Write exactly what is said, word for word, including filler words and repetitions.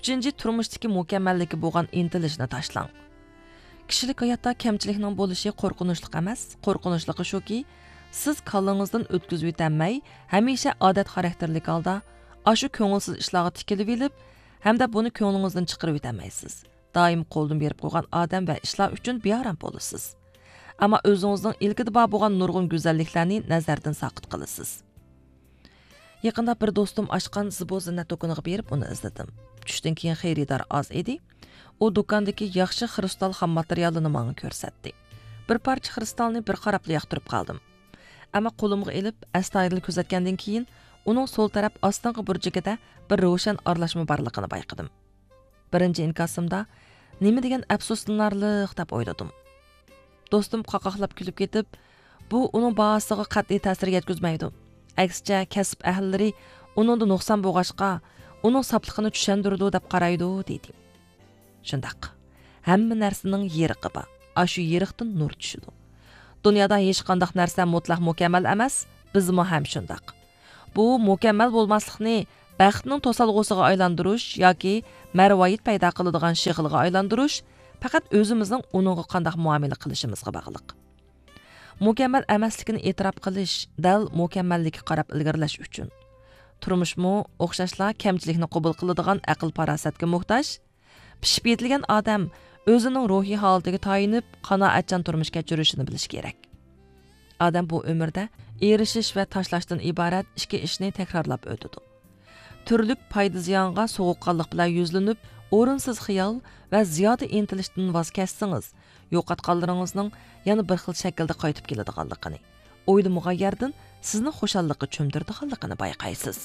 ئۈچىنچى، تۇرمۇشتىكى مۇكەممەللىككە بولغان ئىنتىلىشنى تاشلاڭ. كىشىلىك ھاياتتا كەمچىلىكنىڭ بولۇشى قورقۇنچلۇق ئەمەس، قورقۇنچلۇقى شۇكى، سىز كاللىڭىزدىن ئۆتكۈزۈۋېتەلمەي، ھەمىشە ئادەت خاراكتېرلىك ھالدا ئاشۇ كۆڭۈلسىز ئىشلارغا تىكىلىۋېلىپ، ھەمدە بۇنى كۆڭلىڭىزدىن چىقىرىۋېتەلمەيسىز. دائىم قولدىن بېرىپ قويغان ئادەم ۋە ئىشلار ئۈچۈن بىئارام بولىسىز. ئەمما ئۆزىڭىزنىڭ ئىلكىدە بار بولغان نۇرغۇن گۈزەللىكلەرنى نەزەردىن ساقىت قىلىسىز. يېقىندا بىر دوستۇم ئاچقان زىبۇ زىننەت دۇكىنىغا بېرىپ ئۇنى ئىزدىدىم. چۈشتىن كېيىن خېرىدار ئاز ئىدى. ئۇ دۇكاندىكى ياخشى خرۇستال خام ماتېرىيالىنى ماڭا كۆرسەتتى. بىر پارچە خرۇستالنى بىر قاراپلا ياقتۇرۇپ قالدىم. ئەمما قولۇمغا ئېلىپ، ئەستايىدىل كۆزەتكەندىن كېيىن، ئۇنىڭ سول تەرەپ ئاستىنقى بۇرجىكىدە بىر روشەن ئارىلاشما بارلىقىنى بايقىدىم. بىرىنچى ئىنكاسىمدا، «نېمە دېگەن ئەپسۇسلىنارلىق» دەپ ئويلىدىم. دوستۇم قاقاقلاپ كۈلۈپ كېتىپ، «بۇ ئۇنىڭ باھاسىغا قەتئىي تەسىر يەتكۈزمەيدۇ. ئەكسىچە، كەسىپ ئەھلىلىرى ئۇنىڭدا نۇقسان بولغاچقا، ئۇنىڭ ساپلىقىنى چۈشەندۈرىدۇ دەپ قارايدۇ» دېدى. شۇنداق. ھەممە نەرسىنىڭ يېرىقى بار. ئاشۇ يېرىقتىن نۇر چۈشىدۇ. دۇنيادا ھېچقانداق نەرسە مۇتلەق مۇكەممەل ئەمەس، بىزمۇ ھەم شۇنداق. بۇ مۇكەممەل بولماسلىقنى بەختنىڭ توسالغۇسىغا ئايلاندۇرۇش ياكى مەرۋايىت پەيدا قىلىدىغان شېغىلغا ئايلاندۇرۇش پەقەت ئۆزىمىزنىڭ ئۇنىڭغا قانداق مۇئامىلە قىلىشىمىزغا باغلىق. مۇكەممەل ئەمەسلىكىنى ئېتىراپ قىلىش دەل مۇكەممەللىككە قاراپ ئىلگىرىلەش ئۈچۈن. تۇرمۇشمۇ ئوخشاشلا كەمچىلىكنى قوبۇل قىلىدىغان ئەقىل-پاراسەتكە موھتاج. پىشىپ يېتىلگەن ئادەم ئۆزىنىڭ روھىي ھالىتىگە تايىنىپ، قانائەتچان تۇرمۇش كەچۈرۈشىنى بىلىشى كېرەك. ئادەم بۇ ئۆمۈردە ئېرىشىش ۋە تاشلاشتىن ئىبارەت ئىككى ئىشنى تەكرارلاپ ئۆتىدۇ. تۈرلۈك پايدا-زىيانغا سوغۇققانلىق بىلەن يۈزلىنىپ، ئورۇنسىز خىيال ۋە زىيادە ئىنتىلىشتىن ۋاز كەچسىڭىز، يوقاتقانلىرىڭىزنىڭ يەنە بىر خىل شەكىلدە قايتىپ كېلىدىغانلىقىنى، ئويلىمىغان يەردىن سىزنى خۇشاللىققا چۆمدۈرىدىغانلىقىنى بايقايسىز.